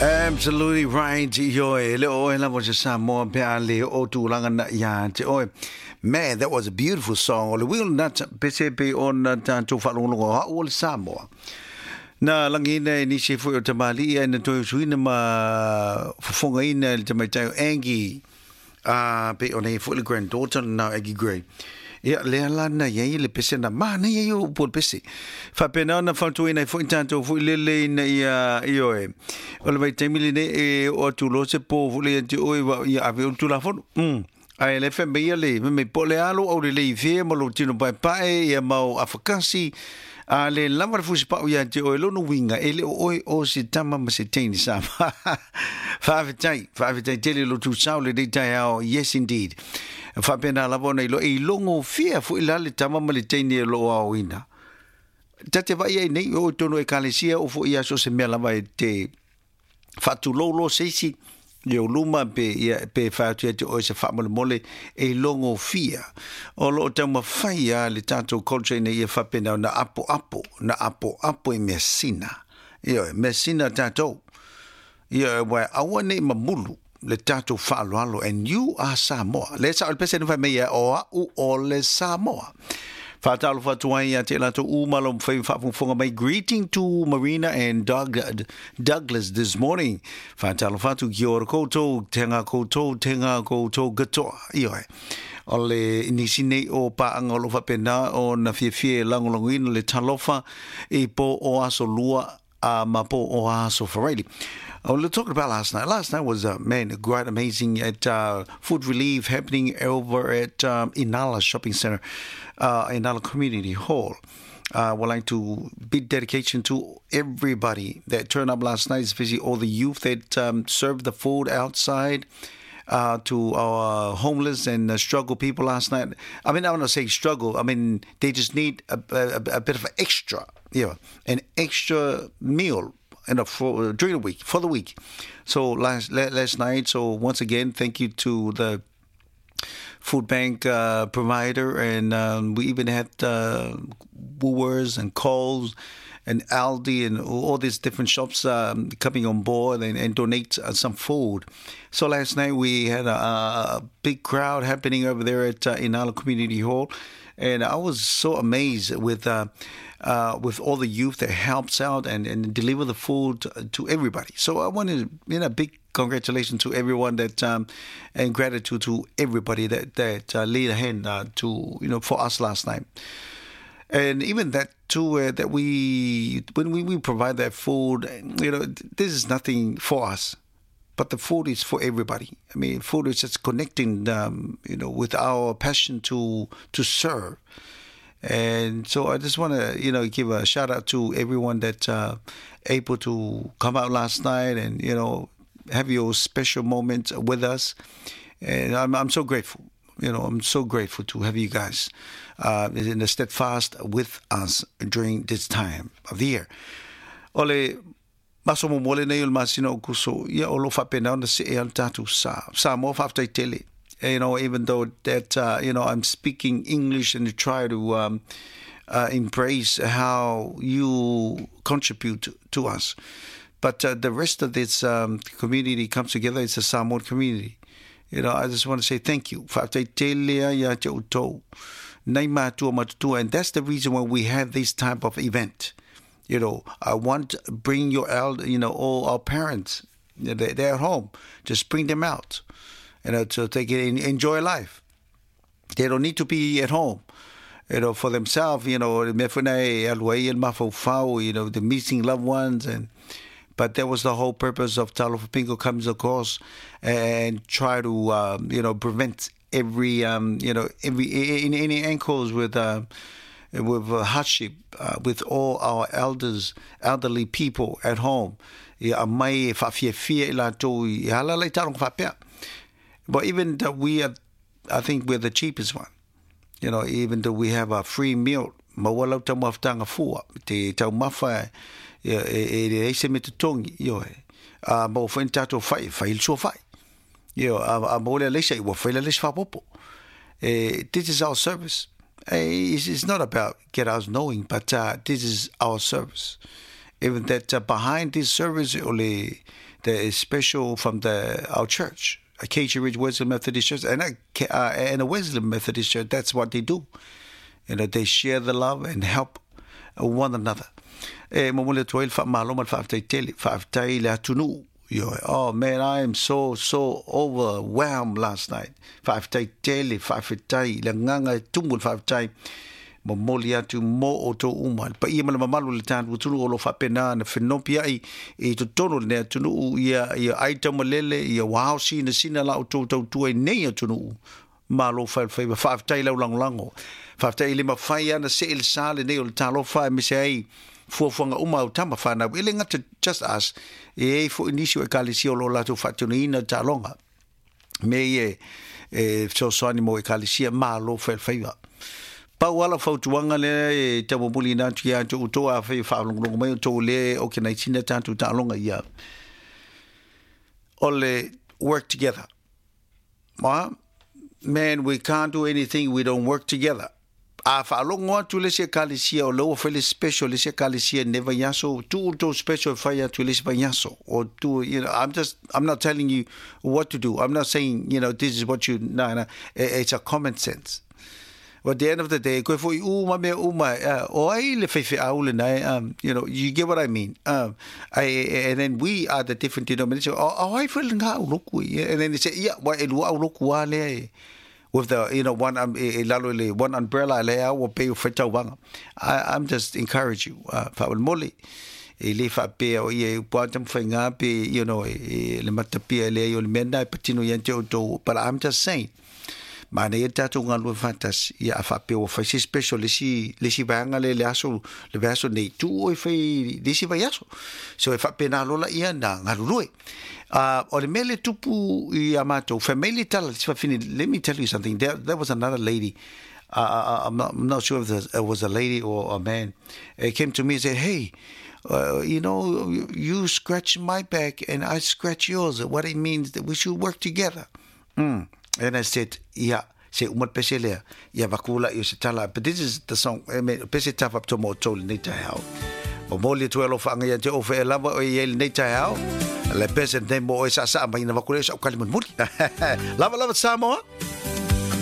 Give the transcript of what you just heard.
Absolutely right. Ioe, le o e lava se Samoa pe a le o tūlanga na ia te oe. Man, that was a beautiful song. O le Will Nut pese pe ona tātou whaalongolongo hau o le Samoa. Na langina e nisi foi o tamalii ai na toe usuina ma fofogaina e le tamaitai o Angie a pei ona i ai foi le granddaughter lena o Aggie Gray. Ia, lea la na i ai le pese na manaia ia o upu o le pese. Faapena ona fautuaina ai foi tatou foi lele ina ia, ioe, o le vaitaimi lenei e oo atu loa se po foi lea ia te oe, ia ave oe le Tulafono. Mm. Ae le fai mai ia le, fai mai, po o le a lou aulelei i fea ma lou tino paepae, ia ma ou afakasi, a le lava le fusipau ia te oe, lona uiga, e le o oe o se tama ma se teine sa. Faafetai, faafetai tele lo tusao lenei taeao, yes indeed. Faapena lava ona iloa, e ilogofia foi la le tama ma le teine o lo o aoina. Ta te vaai ai nei, o i tonu ekalesia, o foi ia so se mea lava e te faatulou loa se isi i ou luma pe, ia, pe fai atu ia te oe se faamolemole e logofia. O lo o taumafai a le tatou culture ina ia faapena ona apoapo, na apoapo i measina. Ioe, measina tatou. Ioe, ua aua nei mamulu le tatou faaaloalo and you are Samoa. Le sao le pese na fai mai ia, o au o le Samoa. Faatalofa atu ai ia te latou uma lo mawhai whaafungafunga mai. Greeting to Marina and Doug, Douglas this morning. Faatalofa atu ki ora koutou, te ngā koutou, te ngā koutou katoa. Ioe. O le nisi nei o paanga o lo whapena o na fiafia e lagolagoina le talofa i po o aso lua a ma po o aso Faraili. Oh, we're talking about last night. Last night was, man, quite amazing at food relief happening over at Inala Shopping Centre, Inala Community Hall. I would like to big dedication to everybody that turned up last night, especially all the youth that served the food outside. To our homeless and struggle people last night. I mean, I want to say struggle. I mean, they just need a, a, a bit of extra, you know, an extra meal you know, for, during the week, for the week. So last last night, so once again, thank you to the food bank provider, and we even had Woolworths and Coles and Aldi and all these different shops coming on board and, and donate some food. So last night we had a, a big crowd happening over there at Inala Community Hall, and I was so amazed with with all the youth that helps out and, and deliver the food to everybody. So I want to, you know, big congratulations to everyone that and gratitude to everybody that that laid a hand to you know for us last night. And even that too, that we when we, we provide that food, you know, this is nothing for us but the food is for everybody. I mean, food is just connecting, you know, with our passion to to serve. And so I just want to, you know, give a shout out to everyone that able to come out last night and you know have your special moment with us. And I'm I'm so grateful. You know, I'm so grateful to have you guys in the steadfast with us during this time of the year. Ole, maso muamua lenei o le masina o Aokuso, ia o lo o faapena ona see ai le tatou sa. Samoa faafetai tele. You know, even though that, you know, I'm speaking English and to try to embrace how you contribute to us. But the rest of this community comes together. It's a Samoan community. You know, I just want to say thank you. Faafetai tele ai ia te outou. Nei mātua matutua. And that's the reason why we have this type of event. You know, I want to bring your elder, you know, all our parents, they're at home. Just bring them out, you know, so they can enjoy life. They don't need to be at home, you know, for themselves, you know, you know, the missing loved ones and but that was the whole purpose of Talofa Bingo comes across and try to you know prevent every you know every any, any ankles with with hardship with all our elders elderly people at home. Ia aumai e whaafiafia i latou i hala lai taaloga faapea. But even that we are, I think we're the cheapest one. You know, even though we have a free meal, maua lau taumafataga fua, te taumafa e, e, e leai se mea totogi, ioe. A maua foi ni tatou fai, fai le sua fai. Ioe, a, a maua le alaisa, ua fai le alaisa faaopoopo. E, this is our service. It's, it's not about get us knowing, but this is our service. Even that behind this service o le the special from the our church, Acacia Ridge Wesley Methodist Church, and and a Wesley Methodist Church, that's what they do. They share the love and help one another. E momoli atu ai le faamalo ma le faafetai tele, faafetai i le atunuu. Ioe. Oh man, I am so, so overwhelmed last night. Faafetai tele, faafetai, le agaga e tumu le faafetai. Momoli atu mo outou uma. Le paia ma le mamalu o le tatou atunuu o lo o faapena ona fenopiai i totonu o lenei atunuu, ia, ia ai taumalele, ia ua ao sinasina la outou tautua i nei atunuu. Malo fai o le faiva. Faafetai i lau lagolago. Faafetai e le mafai lava ona see le sa lenei o le talofa aemaise ai fuafuaga uma a au tama fanau. E le gata just us, e i ai foi nisi o Ekalesia o lo o latou faatinoina le taaloga. Mea ia e fesoasoani mo Ekalesia, malo fai o le faiva. Pau lava lau fautuaga lea e taumulimuliina atu ia te outou afai o faalogologo mai outou lea e organise ina tatou taaloga ia, o le work together. Ma, man, we can't do anything we don't work together. A faalogo atu le isi ekalesia o lea ua fai le special le isi ekalesia i lenei vaiaso, tuu le tou special e fai atu i le isi vaiaso. O tuu, I'm just, I'm not telling you what to do. I'm not saying, this is what you, no, no, it's a common sense. But at the end of the day, koe foi uma mea uma, o ai le faifeau lena e, you get what I mean. And then we are the different denomination. O, o ai foi lena auloku ia. And then they say, yeah, wa e lua auloku a lea e, with the, one, e, e lalo i le one umbrella lea ua pei o faitauvaga. I'm just encourage you, faamolemole. E le faapea o ia e upu ata ma faiga pe, e, e, le matapia e leai o le mea lena e patino ia te outou. But I'm just saying, Manaia le tatou galulue faatasi, ia a faapea ua fai se special le isi, le isi vaega lea i le aso, le vaiaso nei, tuu oe fai i le isi vaiaso. So e faapena loa laia na galulue. O le mea lea e tupu ia matou, fai mai le tala le isi fafine, let me tell you something, there was another lady, I'm not, I'm not sure if it was a lady or a man, it came to me and said, hey, you scratch my back and I scratch yours. What it means that we should work together. And I said, ia, se uma le pese lea, ia vaku la i o se tala. But this is the song, I mean, pese tafa pito mo tau lenei taeao. Momoli atu e alofa anga ia te ofe e lava o i ai lenei taeao. Le pese nei mo oe sa sa mai na vaku lea sa ukali mulimuli. Lava lava Samoa.